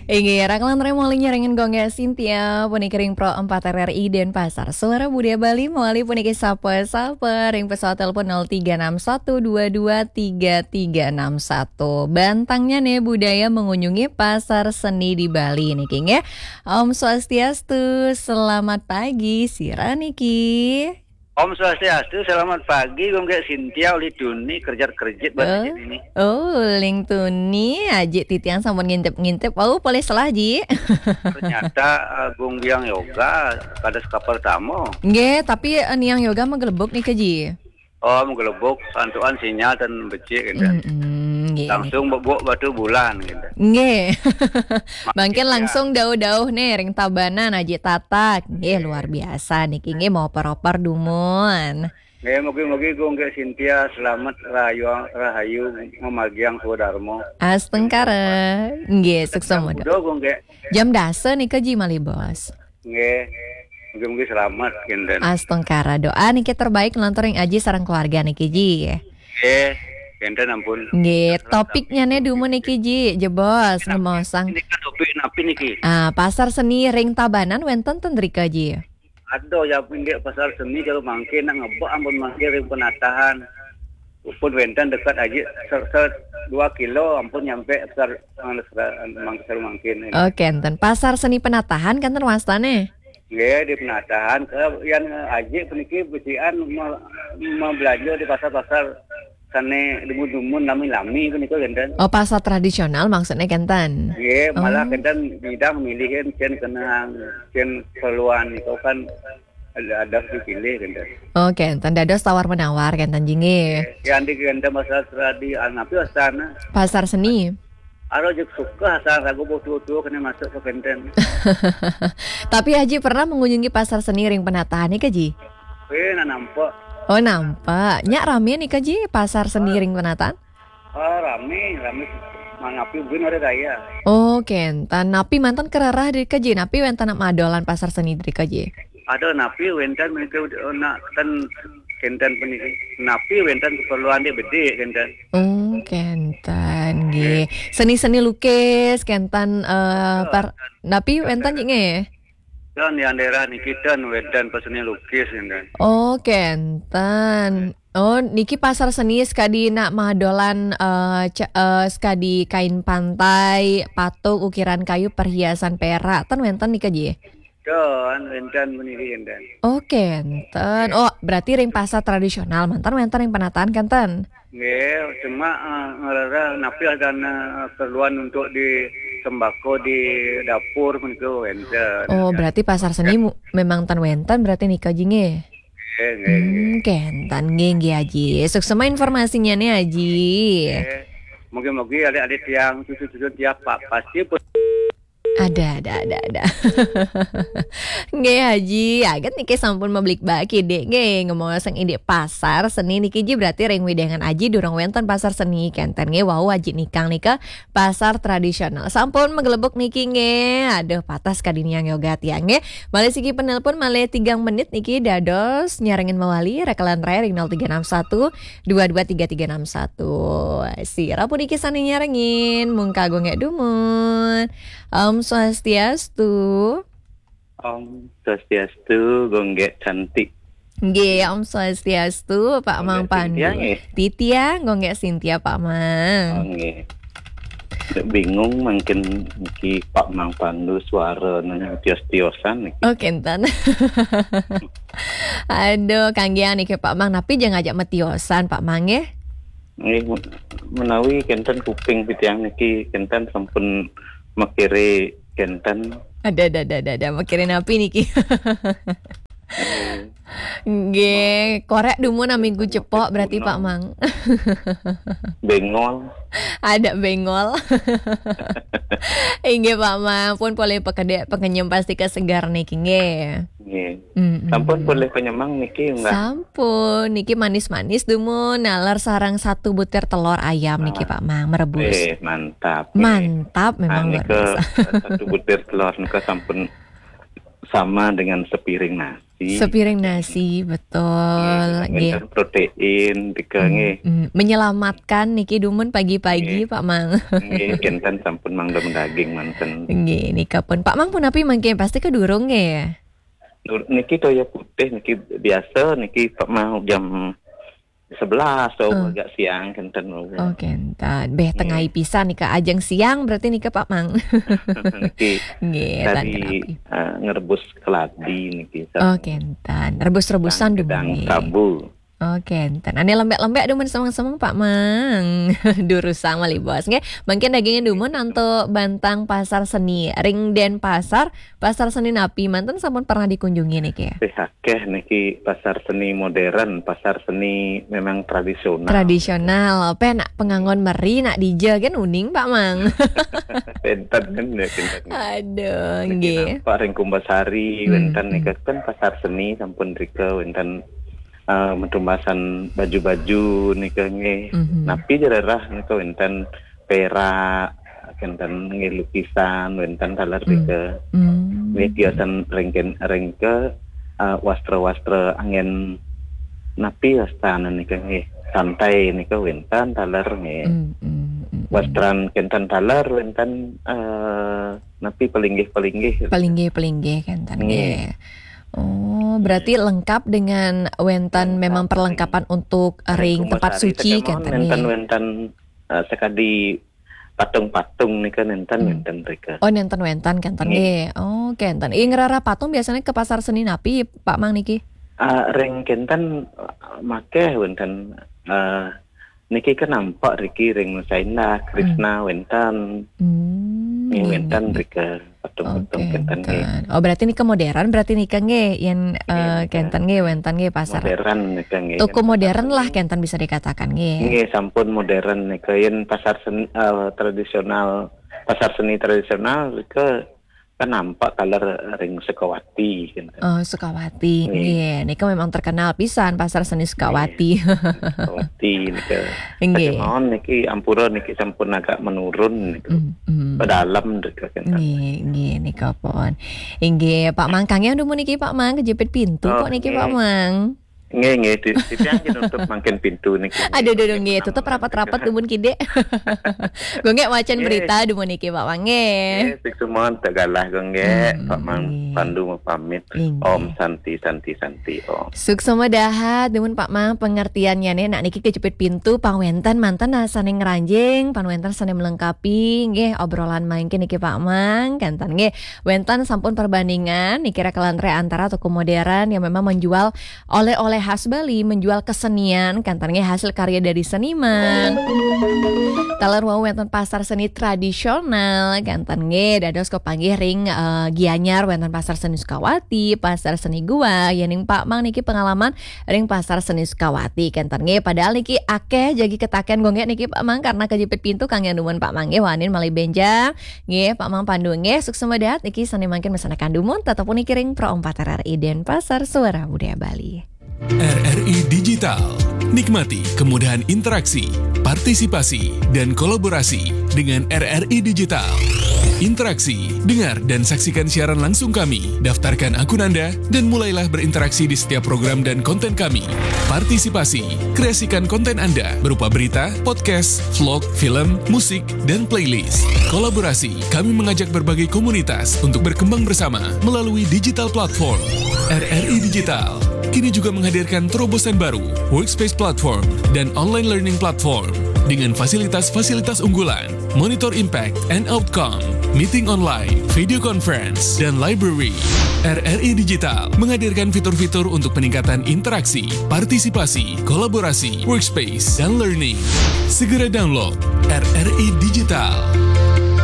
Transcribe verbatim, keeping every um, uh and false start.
Inggih, raka lan rai malih nyarengin Gung Gek Sintia, puniki ring Pro empat R R I Denpasar. Suara Budaya Bali malih puniki sapa-sapa ring pesawat telepon nol tiga enam satu dua dua tiga tiga enam satu. Bantangnya nih, budaya mengunjungi pasar seni di Bali niki nggih. Om Swastiastu, selamat pagi, sira niki. Om Swastiastu, selamat pagi, Gung Gek Sintia, Uli Tuni, kerjit-kerjit buat Eh? Aji ini. Oh, Uli Tuni, Aji titiang sampun ngintip-ngintip. Oh, polih selah, Ji. Ternyata, eh, Gung Biang Yoga, kada sekapal tamu. Nggih, tapi, eh, Niang Yoga magelebuk nika, Ji. Oh, magelebuk, santukan sinyal dan becik, gitu. Mm-mm, nggih, Langsung niki. Bebuk batu bulan, gitu. Nggih. Mangkin ya. Langsung dauh-dauh nih, ring Tabanan, Aji Tatak. Nggih, luar biasa niki, nggih, mau oper-oper dumun. Nggih, mugi-mugi Gung Gek Sintia selamat rahayu, rahayu mamagiang swadarma. Astungkara. Nggih, sukses. Jam pira, Gung Gek? Jam dasa nika, Ji, malih, Bos. Nggih. Mugi-mugi selamat, kinten. Astungkara, doa niki terbaik nglantur ring Aji sareng keluarga niki, Ji. Nggih, kinten ampun. Nggih, topiknya nih dumun niki, Ji, jebos, ngemaosang. Niki topik napi niki? Ah, pasar seni ring Tabanan wenten ten rika, Ji? Aduh, ya, pinggir pasar seni kalau mangkin nak ngebak ampun mangkin ring penatahan. Upun wenten dekat aja, ser, ser, dua kilo ampun nyampe ser, anu, ser, anu, mang-, ser mangkin ini. Oh, kenten. Pasar seni penatahan kenten wastane? Nggih, di penatahan ke yang aja puniki becikan me-, mebelanja di pasar-pasar sane dumun-dumun lami-lami punika kenten. Oh, pasar tradisional maksudnya kenten? Nggih, malah Oh. Kenten bidang milihin cen kenang, cen keperluan itu kan ada, ada dipilih kenten. Oh, kenten. Dados tawar menawar kenten, Ji, nggih. Yang di kenten pasar tradi, anapi wastana. Pasar seni. Aro jek suka asal ragu butuh-butuh kena masuk ke kenten. Tapi Aji pernah mengunjungi pasar seni ring penatahan nika, Ji? Eh, nak nampak. Oh, nampak. Nyak rame nika, Ji, pasar seni ring penatahan? Ah, rame, rame. Manapi buin hari raya. Oh, kenten. Napi manten kererah drika, Ji? Napi wenten nak madolan pasar seni drika, Ji? Ada napi wenten menika nak ten kenten puniki. Napi wenten keperluan dia bedik kenten. Oh, kenten, nggih. Seni-seni lukis, kenten, eh, par-, napi wenten, Ji, nggih? Dan yang daerah niki ten wenten pasar seni lukis kenten. Oh, kenten. Oh, niki pasar seni sekadi nak madolan, eh, ce-, eh, sekadi kain pantai, patung, ukiran kayu, perhiasan perak. Ten wenten nika, Ji? Ten, wenten puniki kenten. Oh, kenten. Oh, berarti ring pasar tradisional, manten wenten ring penatahan kenten? Nggih, cuma, eh, ngerereh napi ada, eh, keperluan untuk di sembako di dapur menika wenten. Oh, berarti pasar seni mu-, memang ten wenten berarti nika, Ji, nggih? Nggih, nggih, nggih. Hmm, kenten, nggih, nggih, Aji. Suksema informasinya nih, Aji. Nggih. Mugi-mugi adik-adik tiang, cucu-cucu tiang, Pak, pasti pun. Ada, ada, ada, ada. Nggih, Aji. Aget niki sampun mablikbak kidik, nggih. Ngemaosang indik pasar seni niki, Ji, berarti ring wewidangan Aji durung wenten pasar seni, kenten, nggih. Wau Aji nikang nika pasar tradisional. Sampun magelebuk niki, nggih. Aduh, patah sekadi Niang Yoga tiang, nggih. Malih siki penelpon, malih tigang menit niki dados nyarengin mawali, raka lan rai ring nol tiga enam satu dua dua tiga tiga enam satu. Sira puniki sane nyarengin, mungka Gung Gek dumun. Om Swastiastu. Om Swastiastu, Gung Gek cantik. Nggih, Om Swastiastu, Pak Mang Pandu. Gung Gek Sintia, nggih. Titiang, Gung Gek Sintia, Pak Mang. Oh, nggih. Bingung mangkin niki Pak Mang Pandu suara nang tios-tiosan niki. Oh, kenten. Aduh, kanggiang niki Pak Mang, napi jang ngajak matiosan Pak Mang, nggih? Nggih, menawi kenten kuping titiang niki kenten sampun makire kenten. Ada, ada, ada, ada, ada. Makire napi niki? Nggih, korek dumun aminggu cepok berarti, Pak Mang. Bengol. Ada bengol. Inggih, Pak Mang, pun polih pakedek pakenyem pasti kesegar niki, nggih. Nggih. Mm-mm. Sampun polih penyemang niki, nggih? Sampun, niki manis-manis dumun, naler sareng satu butir telur ayam niki, Pak Mang, merebus. Eh, mantap, nggih. Mantap, memang luar biasa. Satu butir telur nika sampun sama dengan sepiring nasi. Sepiring nasi, betul. Nggih, protein, tiga, nggih. Mm, menyelamatkan niki dumun pagi-pagi, Pak Mang. Nggih, kinten sampun mangda daging manten. Nggih, nika pun. Pak Mang pun napi mangke, pasti kedurung nggih. Niki toya putih niki biasa niki, Pak Mang, jam sebelas atau agak siang kinten. Oh, kinten. Beh, tengai pisan nika, ajeng siang berarti nika, Pak Mang. Niki nggih, tadi uh, ngerebus keladi niki. Oh, kinten. Rebus-rebusan dumun. Prabu. Oh, kinten. Ane lembek-lembek dumun semeng-semeng, Pak Mang. Durusang malih bos nggih. Mangkin dagingnya dumun antuk bantang pasar seni. Ring Denpasar, pasar seni napi manten sampun pernah dikunjungi niki? Akeh niki pasar seni modern, pasar seni memang tradisional. Tradisional, pe nak panganggon meri, nak dija kan uning, Pak Mang. Kinten kan ya, kinten. Aduh, nggih. Pak, ring Kumbasari wenten nika kan pasar seni sampun rika, wenten uh, metumbasan baju-baju nika nggih. Napi jererah nika wenten perak, wenten nggih lukisan, wenten taler rika. Nggih, tiasan ring ke, ring ke uh, wastra-wastra angin, napi wastane nika nggih, santai nika wenten taler nggih. Wastran kinten taler wenten uh, napi pelinggih-pelinggih. Pelinggih-pelinggih kinten nggih. Oh, berarti lengkap dengan wenten memang perlengkapan untuk ring tempat suci kinten nggih. Wenten, wenten uh, sekadi patung-patung nika nenten, nenten rika. Oh, nenten wenten kinten nggih. Oh, kinten. Ing rara patung biasanya ke pasar seni napi, Pak Mang, niki? Uh, ring kinten uh, makeh wenten uh, niki kan nampak riki ring Nusa Indah, Krishna wenten. Hmm, wenten rika patung-patung kinten nggih. Oh, berarti nika modern, berarti nika nggih, yen uh, kinten nggih, wenten nggih pasar. Modern nika nggih. Toko modern lah kinten bisa dikatakan nggih. Nggih, sampun modern nika, yen pasar seni uh, tradisional, pasar seni tradisional rika kan nampak taler ring Sukawati kinten. Oh, Sukawati. Nggih, nika memang terkenal pisan pasar seni Sukawati. Sukawati nika. Nggih. Mawon niki ampura niki sampun agak menurun niku. Pedalam rika kinten. Nggih, nggih, nika pun. Inggih, Pak Mang, kangen dumun niki, Pak Mang, kejepit pintu kok niki, Pak Mang. Nggih, nggih, di, di tiang nutup mangkin pintu niki. Aduh, aduh, aduh, nggih, tutup rapat-rapat dumun kidik. Gonggek wacan berita dumun niki, Pak Mang nggih. Nggih, sik semuan tak galah gonggek, Pak Mang Pandu mau pamit. Om Santi, Santi, Santi, Om. Suksma dahat dumun, Pak Mang, pengertiannya nih, nak niki kejepit pintu, pang wenten manten nah sane ngranjing, pang wenten sane melengkapi nggih obrolan mangkin niki, Pak Mang, kinten nggih. Wenten sampun perbandingan niki, rekalan Antara toko modern yang memang menjual oleh-oleh khas Bali, menjual kesenian, kinten nggih, hasil karya dari seniman. Taler wau wenten pasar seni tradisional, kinten nggih, dados kepanggih ring uh, Gianyar wenten pasar seni Sukawati, pasar seni Goa, yening Pak Mang niki pengalaman ring pasar seni Sukawati, kinten nggih. Padahal niki akeh jagi ketaken gonggek niki, Pak Mang, karena kejepit pintu kangen dumun, Pak Mang nggih, wanin malih benjang nggih, Pak Mang Pandu nggih. Suksma dahat niki sane mangkin mesanaken dumun, tetep niki ring Pro empat R R I Denpasar, Suara Budaya Bali. R R I Digital. Nikmati kemudahan interaksi, partisipasi, dan kolaborasi dengan R R I Digital. Interaksi, dengar dan saksikan siaran langsung kami. Daftarkan akun Anda dan mulailah berinteraksi di setiap program dan konten kami. Partisipasi, kreasikan konten Anda berupa berita, podcast, vlog, film, musik, dan playlist. Kolaborasi, kami mengajak berbagai komunitas untuk berkembang bersama melalui digital platform. R R I Digital kini juga menghadirkan terobosan baru, Workspace Platform dan Online Learning Platform, dengan fasilitas-fasilitas unggulan, monitor impact and outcome, meeting online, video conference, dan library. R R I Digital menghadirkan fitur-fitur untuk peningkatan interaksi, partisipasi, kolaborasi, workspace, dan learning. Segera download R R I Digital.